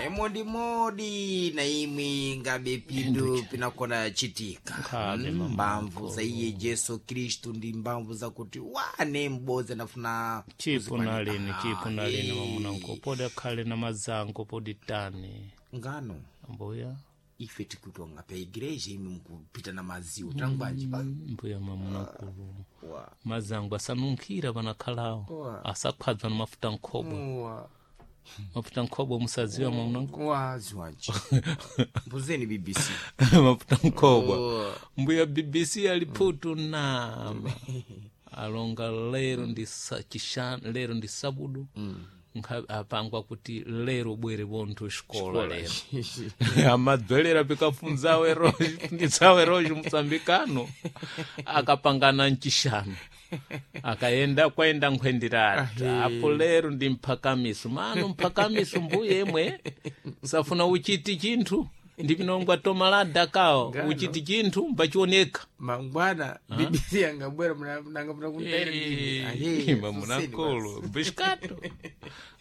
Imodimodi na imwe ngabe pindu pinakona chitika. Nkhabe, mama Mbamvu za iye Jesu Kristu ndi mbamvu zakuti wane m'bodzi anafuna Chipo nalini, Ah, chipo nalini, eh. mamunanko podi akhale na mazango podi tani. Ngano Mbuya. ife tikutonga pa igreja imwe mukupita na maziwo tangwanji pa Mbuya mamunakulu, wa mazango asanunkhira panakhalawo, Owa. asakhwadzwa na mafuta nkhobwe. Wa. Mafuta nkhobwe musadziwa, mamunanko? Waziwanji mbuzeni BBC. Mafuta nkhobwa. Owa. Mbuya BBC aliphutu nama alonga lero ndi chishanu, lero ndi sabudu. Apangwa kuti lero bwere bonthu xikola lero amadzwelera pikafunzawe roji funditsawe roji musambikano akapangana mchishanu akayenda kwaenda nkhwendirata apo lero ndi mphakamiso mano mphakamiso mbuye imwe safuna uchiti chinthu ndipinongwa tomalada kawo. Ngano. Uchiti chinthu mbachioneka. Mangwana BBC angabwera nanga muna kuntaira ndini. Mamunakolo bishkato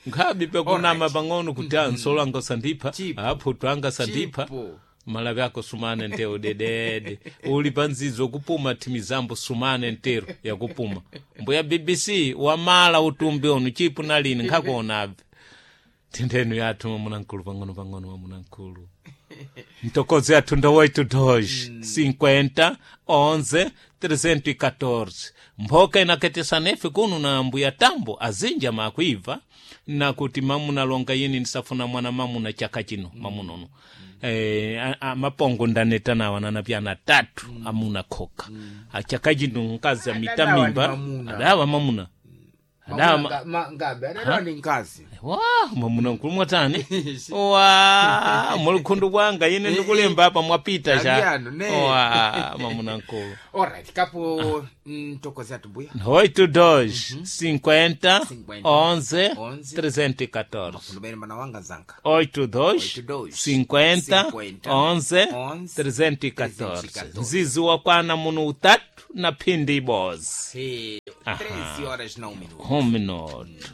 nkhabi pekunama pang'ono kuti ansolo anga sandipha. Chipo. Aphutu anga sandipha. Chipo. Malawi ako sumane ntero dedede uli panzidzo kupuma thimizambo sumane ntero yakupuma mbuya BBC wamala utumbi onu chipu nalini nkhakuonabve tendenu yathu mamunamkulu pang'ono pang'ono mamunamkulu mtokozo yathu ndo 8 2 50 11 314 mphoka inakhetesa nefe kunu na mbuya tambo azinja makuibva nakuti mamunalonga yini ndisafuna mwana mamuna chaka chino mamunono. Mapongo ndaneta nawo ananapyana tatu amuna khoka achaka chino nkazi amita Adadawa mimba. ndi mamuna. Adawa mamuna adawa Ngabe adadawa ndi mkazi. Wa mwamuna nkulu mwatani wa mulikhundu kwanga ine ndikulemba apa mwapita cha. Ambiano, ne. Wa mwamuna nkulu. Alright, kapo mtokozi athu mbuya. 8 2 50 50, 11 11, 314. Fundumene mana wanga zanka. 8 2 2, 50 50, 11 11, 314. 314. Nzizi wakwana muno utatu na phindi ibozi. 13 horas na 1 minuto. 1 minuto.